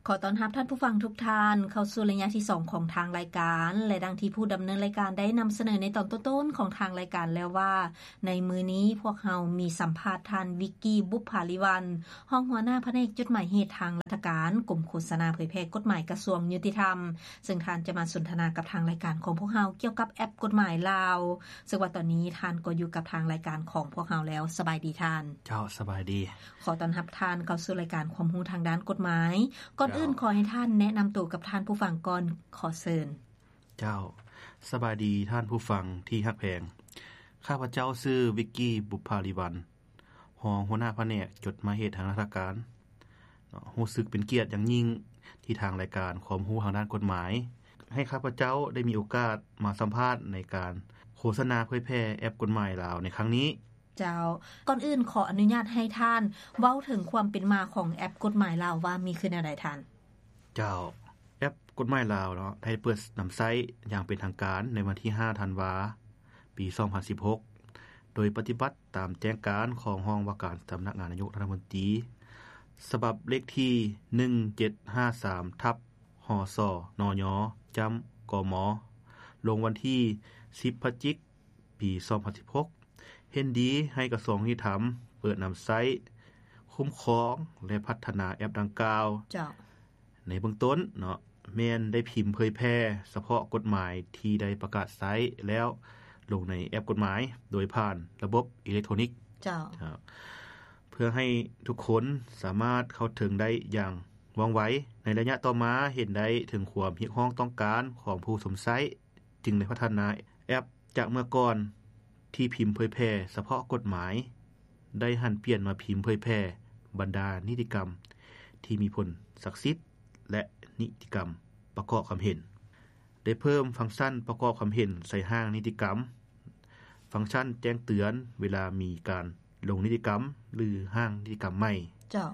ຂໍຕ້ອນຮັບທ່ານຜູ້ຟັງທຸກທ່ານເຂົ້າສູ່ໄລຍະທີສອງຂອງທາງລາຍການ ແລະ ດັ່ງທີ່ຜູ້ດຳເນີນລາຍການໄດ້ນຳສະເໜີໃນຕອນຕົ້ນໆຂອງທາງລາຍການແລ້ວວ່າ ໃນມື້ນີ້ພວກເຮົາມີສຳພາດທ່ານ ວິກກີ ບຸບຜາລິວັນ ຮອງຫົວໜ້າພະແນກຈົດໝາຍເຫດທາງລັດຖະການ ກົມໂຄສະນາເຜີຍແຜ່ກົດໝາຍກະຊວງຍຸຕິທຳ ເຊິ່ງທ່ານຈະມາສົນທະນາກັບທາງລາຍການຂອງພວກເຮົາກ່ຽວກັບແອັບກົດໝາຍລາວ ເຊິ່ງວ່າຕອນນີ້ທ່ານກໍຢູ່ກັບທາງລາຍການຂອງພວກເຮົາແລ້ວ. ສະບາຍດີທ່ານ. ເຈົ້າ ສະບາຍດີ. ຂໍຕ້ອນຮັບທ່ານເຂົ້າສູ່ລາຍການຄວາມຮູ້ທາງດ້ານກົດໝາຍ. ກ່ອນອື່ນ ເຈົ້າ ຂໍໃຫ້ທ່ານແນະນຳໂຕກັບທ່ານຜູ້ຟັງກ່ອນ. ຂໍເຊີນ. ເຈົ້າ ສະບາຍດີທ່ານຜູ້ຟັງທີ່ຮັກແພງ. ຂ້າພະເຈົ້າຊື່ ວິກກີ ບຸບຜາລິວັນ ຮອງຫົວໜ້າພະແນກຈົດໝາຍເຫດທາງລັດຖະການເນາະ. ຮູ້ສຶກເປັນກຽດຢ່າງຍິ່ງທີ່ທາງລາຍການຄວາມຮູ້ທາງດ້ານກົດໝາຍ ໃຫ້ຂ້າພະເຈົ້າໄດ້ມີໂອກາດມາສຳພາດໃນການໂຄສະນາເຜີຍແຜ່ແອັບກົດໝາຍລາວໃນຄັ້ງນີ້. ເຈົ້າ ກ່ອນອື່ນຂໍອະນຸຍາດໃຫ້ທ່ານເວົ້າເຖິງຄວາມເປັນມາຂອງແອັບກົດໝາຍລາວວ່າມີຄືແນວໃດທ່ານ? ເຈົ້າ ແອັບກົດໝາຍລາວເນາະ ໄດ້ເປີດນຳໃຊ້ຢ່າງເປັນທາງການໃນວັນທີຫ້າ ທັນວາ ປີສອງພັນສິບຫົກ ໂດຍປະຕິບັດຕາມແຈ້ງການຂອງຫ້ອງວ່າການສຳນັກງານນາຍົກລັດຖະມົນຕີ ສະບັບເລກທີ ໜຶ່ງເຈັດຫ້າສາມ ທັບ ຫສ ນຍ ຈ້ຳ ກມ ລົງວັນທີ ສິບ ພະຈິກ ປີສອງພັນສິບຫົກ ເຫັນດີໃຫ້ກະຊວງຍຸຕິທຳເປີດນຳໃຊ້, ຄຸ້ມຄອງ ແລະ ພັດທະນາແອັບດັ່ງກ່າວ. ເຈົ້າ. ໃນເບື້ອງຕົ້ນເນາະ ແມ່ນໄດ້ພິມເຜີຍແຜ່ສະເພາະກົດໝາຍທີ່ໄດ້ປະກາດໃຊ້ແລ້ວລົງໃນແອັບກົດໝາຍ ໂດຍຜ່ານລະບົບອີເລັກໂທນິກ. ເຈົ້າ. ເພື່ອໃຫ້ທຸກຄົນສາມາດເຂົ້າເຖິງໄດ້ຢ່າງວ່ອງໄວ. ໃນໄລຍະຕໍ່ມາເຫັນໄດ້ເຖິງຄວາມຮຽກຮ້ອງຕ້ອງການຂອງຜູ້ຊົມໃຊ້ ຈຶ່ງໄດ້ພັດທະນາແອັບຈາກເມື່ອກ່ອນທີ່ພິມເຜີຍແຜ່ສະເພາະກົດໝາຍ ໄດ້ຫັນປ່ຽນມາພິມເຜີຍແຜ່ບັນດານິຕິກຳທີ່ມີຜົນສັກສິດ ແລະ ນິຕິກຳປະກອບຄຳເຫັນ. ໄດ້ເພີ່ມຟັງຊັນປະກອບຄຳເຫັນໃສ່ຮ່າງນິຕິກຳ, ຟັງຊັນແຈ້ງເຕືອນເວລາມີການລົງນິຕິກຳ ຫຼື ຮ່າງນິຕິກຳໃໝ່. ເຈົ້າ.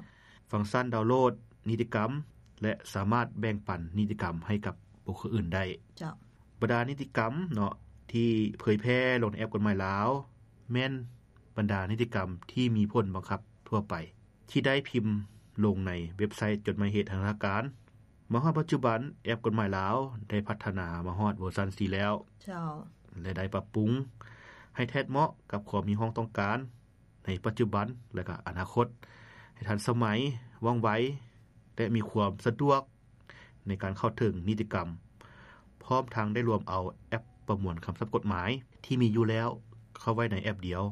ຟັງຊັນດາວໂຫຼດນິຕິກຳ ແລະ ສາມາດແບ່ງປັນນິຕິກຳໃຫ້ກັບບຸກຄົນອື່ນໄດ້. ເຈົ້າ. ບັນດານິຕິກຳເນາະ ທີ່ເຜີຍແຜ່ລົງໃນແອັບກົດໝາຍລາວ ແມ່ນບັນດານິຕິກຳທີ່ມີຜົນບັງຄັບທົ່ວໄປ ທີ່ໄດ້ພິມລົງໃນເວັບໄຊຈົດໝາຍເຫດທາງທາງການ. ມາຮອດປັດຈຸບັນ ແອັບກົດໝາຍລາວໄດ້ພັດທະນາມາຮອດເວີຊັນສີ່ແລ້ວ. ເຈົ້າ. ແລະ ໄດ້ປັບປຸງໃຫ້ແທດເໝາະກັບຄວາມຮຽກຮ້ອງຕ້ອງການໃນປັດຈຸບັນ ແລະ ກະອະນາຄົດ ໃຫ້ທັນສະໄໝ, ວ່ອງໄວ ແລະ ມີຄວາມສະດວກໃນການເຂົ້າເຖິງນິຕິກຳ, ພ້ອມທັງໄດ້ລວມເອົາແອັບປະມວນຄຳສັບກົດໝາຍທີ່ມີຢູ່ແລ້ວເຂົ້າໄວ້ໃນແອັບດຽວ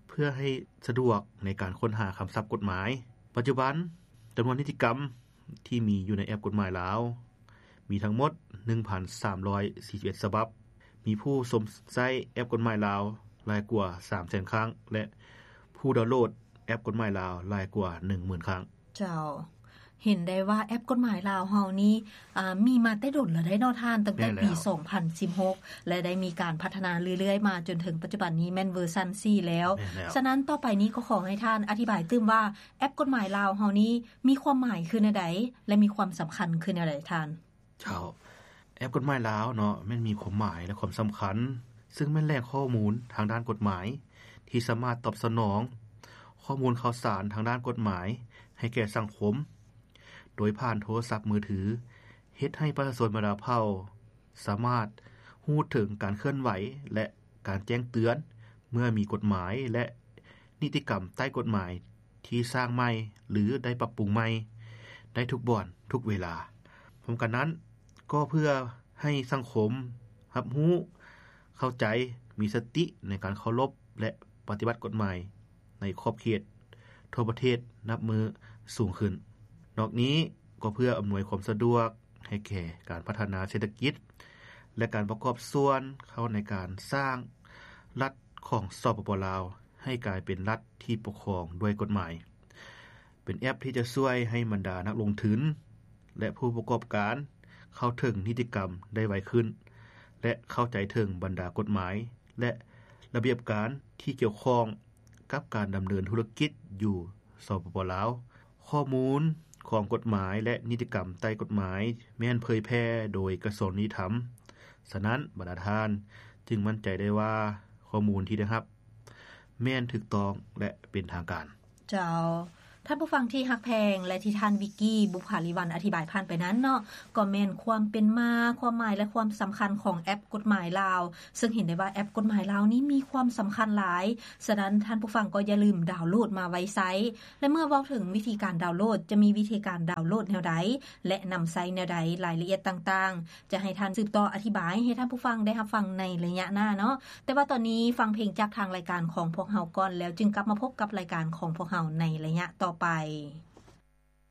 ເພື່ອໃຫ້ສະດວກໃນການຄົ້ນຫາຄຳສັບກົດໝາຍ. ປັດຈຸບັນ ຈຳນວນນິຕິກຳທີ່ມີຢູ່ໃນແອັບກົດໝາຍລາວ ມີທັງໝົດ ໜຶ່ງພັນສາມຮ້ອຍສີ່ສິບເອັດ ສະບັບ, ມີຜູ້ຊົມໃຊ້ແອັບກົດໝາຍລາວຫຼາຍກວ່າ ສາມແສນ ຄັ້ງ ແລະ ຜູ້ດາວໂຫຼດແອັບກົດໝາຍລາວຫຼາຍກວ່າ ໜຶ່ງໝື່ນ ຄັ້ງ. ເຈົ້າ. ເຫັນໄດ້ວ່າແອັບກົດໝາຍລາວເຮົານີ້ ອາ ມີມາແຕ່ດົນແລ້ວເດ້ເນາະທ່ານ, ຕັ້ງແຕ່ປີ ແມ່ນແລ້ວ ສອງພັນສິບຫົກ ແລະ ໄດ້ມີການພັດທະນາເລື້ອຍໆມາຈົນເຖິງປັດຈຸບັນນີ້ແມ່ນເວີຊັນສີ່ແລ້ວ. ແມ່ນແລ້ວ. ສະນັ້ນຕໍ່ໄປນີ້ກໍຂໍໃຫ້ທ່ານອະທິບາຍຕື່ມວ່າ ແອັບກົດໝາຍລາວເຮົານີ້ມີຄວາມໝາຍຄືແນວໃດ ແລະ ມີຄວາມສຳຄັນຄືແນວໃດທ່ານ? ເຈົ້າ. ແອັບກົດໝາຍລາວເນາະ ແມ່ນມີຄວາມໝາຍ ແລະ ຄວາມສຳຄັນ ຊຶ່ງແມ່ນແຫຼ່ງຂໍ້ມູນທາງດ້ານກົດໝາຍ ທີ່ສາມາດຕອບສະໜອງຂໍ້ມູນຂ່າວສານທາງດ້ານກົດໝາຍໃຫ້ແກ່ສັງຄົມ ໂດຍຜ່ານໂທລະສັບມືຖື, ເຮັດໃຫ້ປະຊາຊົນບັນດາເຜົ່າສາມາດຮູ້ເຖິງການເຄື່ອນໄຫວ ແລະ ການແຈ້ງເຕືອນເມື່ອມີກົດໝາຍ ແລະ ນິຕິກຳໃຕ້ກົດໝາຍ ທີ່ສ້າງໃໝ່ ຫຼື ໄດ້ປັບປຸງໃໝ່ໄດ້ທຸກບ່ອນທຸກເວລາ. ພ້ອມກັນນັ້ນ ກໍເພື່ອໃຫ້ສັງຄົມຮັບຮູ້, ເຂົ້າໃຈ, ມີສະຕິໃນການເຄົາລົບ ແລະ ປະຕິບັດກົດໝາຍໃນຂອບເຂດທົ່ວປະເທດນັບມື້ສູງຂຶ້ນ. ນອກນີ້ກໍເພື່ອອຳນວຍຄວາມສະດວກໃຫ້ແກ່ການພັດທະນາເສດຖະກິດ ແລະ ການປະກອບສ່ວນເຂົ້າໃນການສ້າງລັດຂອງ ສປປ ລາວ ໃຫ້ກາຍເປັນລັດ ທີ່ປົກຄອງດ້ວຍກົດໝາຍ, ເປັນແອັບທີ່ຈະຊ່ວຍໃຫ້ບັນດານັກລົງທຶນ ແລະ ຜູ້ປະກອບການເຂົ້າເຖິງນິຕິກຳໄດ້ໄວຂຶ້ນ ແລະ ເຂົ້າໃຈເຖິງບັນດາກົດໝາຍ ແລະ ລະບຽບການທີ່ກ່ຽວຂ້ອງກັບການດຳເນີນທຸລະກິດຢູ່ ສປປ ລາວ. ຂໍ້ມູນຂອງກົດໝາຍ ແລະ ນິຕິກຳໃຕ້ກົດໝາຍ ແມ່ນເຜີຍແຜ່ໂດຍກະຊວງຍຸຕິທຳ. ສະນັ້ນ ບັນດາທ່ານຈຶ່ງໝັ້ນໃຈໄດ້ວ່າ ຂໍ້ມູນທີ່ໄດ້ຮັບ ແມ່ນຖືກຕ້ອງ ແລະ ເປັນທາງການ. ເຈົ້າ. ທ່ານຜູ້ຟັງທີ່ຮັກແພງ ແລະ ທີ່ທ່ານວິກກີ່ ບຸບຜາລີວັນ ອະທິບາຍຜ່ານໄປນັ້ນເນາະ ກໍແມ່ນຄວາມເປັນມາ, ຄວາມໝາຍ ແລະ ຄວາມສຳຄັນຂອງແອັບກົດໝາຍລາວ, ເຊິ່ງເຫັນໄດ້ວ່າແອັບກົດໝາຍລາວນີ້ມີຄວາມສຳຄັນຫຼາຍ. ສະນັ້ນທ່ານຜູ້ຟັງກໍຢ່າລືມດາວໂຫຼດມາໄວ້ໃຊ້. ແລະ ເມື່ອເວົ້າເຖິງວິທີການດາວໂຫຼດ, ຈະມີວິທີການດາວໂຫຼດແນວໃດ ແລະ ນຳໃຊ້ແນວໃດ, ລາຍລະອຽດຕ່າງໆ ຈະໃຫ້ທ່ານສືບຕໍ່ອະທິບາຍໃຫ້ທ່ານຜູ້ຟັງໄດ້ຮັບຟັງໃນໄລຍະໜ້າເນາະ. ແຕ່ວ່າຕອນນີ້ຟັງເພງຈາກທາງລາຍການຂອງພວກເຮົາກ່ອນ ແລ້ວຈຶ່ງກັບມາພົບກັບລາຍການຂອງພວກເຮົາໃນໄລຍະຕໍ່ໄປ.